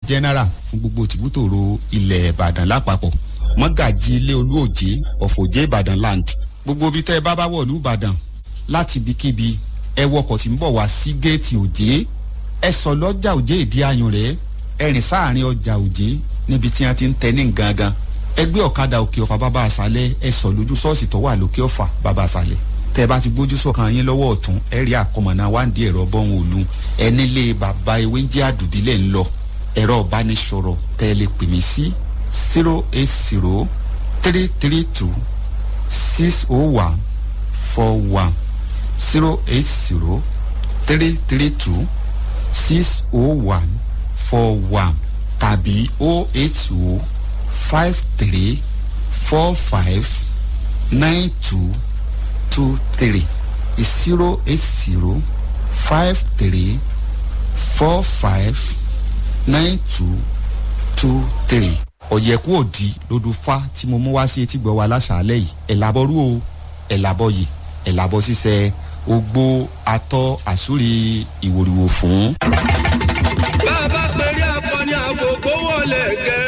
general fún gbogbo tìbútòrò ilẹ̀ Ìbàdàn lápapọ̀, mọ́gàjì ilé olú òjé ọ̀fọ̀jẹ́ Ìbàdàn land. Gbogbo ibi tẹ́ ẹ bá bá wọ̀lú Ìbàdàn láti ibikíbi, ẹ wọkọ̀ tí ń bọ̀ wá sí géètì Òjé, ẹ sọ lọ́jà Òjé ìdí ayùn rẹ̀, ẹ rìn sáàrin ọjà Òjé níbi tí wọ́n ti ń tẹ ní gangan, ẹ gbé ọ̀kadà Òkè Ọ̀fà bàbá àṣálẹ̀, ẹ sọ lójú ṣọ́ọ̀ṣì tó wà lókè Ọ̀fà bàbá àṣálẹ̀. Tẹ́ ẹ bá ti gbójú sọ̀kan yín lọ́wọ́ ọ̀tún, ẹ rí àkọmọ̀nà wáǹdí ẹ̀rọ bọ́hùn òlu, ẹ nílé bàbá ewé ń jẹ́ àdùbílẹ̀ ń lọ. Ẹ̀rọ ìbánisọ̀rọ̀ tẹ́ ẹ lè pè mí sí 08033260141, 08033260141 tàbí 08053459223, 08053459223. Ọ̀yẹ̀kú òdì lódù fá tí mo mú wá sí etí gbọ́ wa láṣàálẹ̀ yìí. Ẹ̀làbọ̀rú o, ẹ̀làbọ̀ yìí, ẹ̀làbọ̀ ṣiṣẹ́ ogbó atọ́ àsúrí ìwòrìwò fún.